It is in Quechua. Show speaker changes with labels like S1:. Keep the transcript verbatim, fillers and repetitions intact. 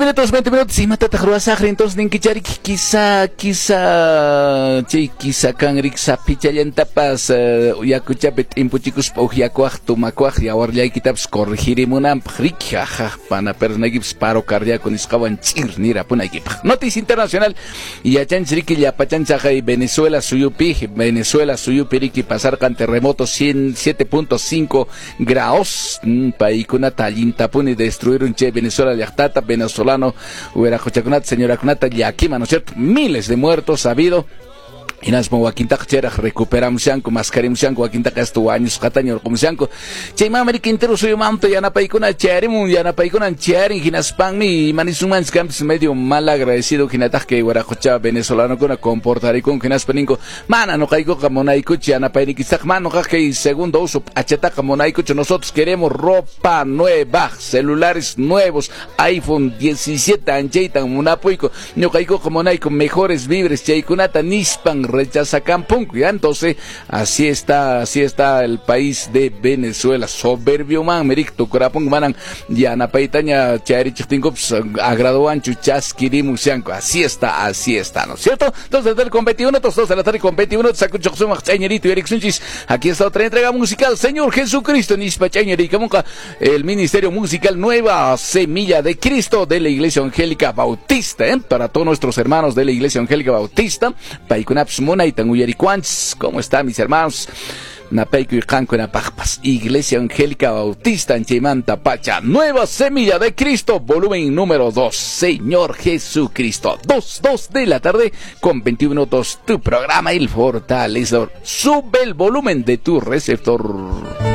S1: minutos, veinte minutos. Imatataq ruwasaqri entonces ninkicharik? Quizá, quizá, chay quizá kanrik sapichallantapas uh, yakuchapi t'impuchikuspa uqyakuaq, tumakuaq, yawarllaykitapas corregirimunanpaq, riki, aja, pana pernaykipis paro cardíaco nisqawan ch'ir nirapunaykipaq. Noticia internacional, yachanchis riki llapachanchaqay Venezuela suyupi, Venezuela suyupi riki pasarqan terremoto siete punto cinco grados, mm, paykunata allintapuni destruirun chay Venezuela llaqtata, venezolano wiraquchakunata, señorakunata llakima, ¿no es cierto? Miles de muertos ha habido. Hinaspa wakintaqa chayraq recuperamushanku, maskarimushanku, wakintaqa hasta wañusqataña urqumushanku. Chaymanmi riki entero suyumanta yanapaykuna chayarimun, yanapaykunan chayarin, hinaspanmi imanisunmanchis kanpis medio mal agradecido hinataq kay wiraqucha venezolanokuna comportarikunku, hinaspa ninku, mana nuqaykuqa munaykuchu yanapaynikistaqa, mana nuqaqa kay segundo uso p'achataqa munaykuchu, nosotros queremos ropa nueva, celulares nuevos, iPhone diecisiete anchaytan munapuyku, ñuqaykuqa munayku mejores víveres chaykunata nispan rechazacan punco. Ya entonces así está, así está el país de Venezuela, soberbio man, mericto curapun manan yanapaytaña chayarichiqtinkupas agradoanchu chaskirimushanku, así está, así está, ¿no es cierto? Dos de la tarde con veintiuno, dos, dos de la tarde con veintiuno, sakuchoqsumaq ch'añerito Eriksunchis, aquí está otra entrega musical, Señor Jesucristo, nispa ch'añerikamunqa, el Ministerio Musical Nueva Semilla de Cristo de la Iglesia Evangélica Bautista, ¿eh? Para todos nuestros hermanos de la Iglesia Evangélica Bautista, paykunapas munaytan uyarikuanchis, ¿cómo están mis hermanos? Napayku y qankunapaqpas, Iglesia Evangélica Bautista en Chaymanta Pacha, Nueva Semilla de Cristo, volumen número dos, Señor Jesucristo, dos, dos de la tarde con veintiuno minutos, tu programa El Fortalecedor. Sube el volumen de tu receptor.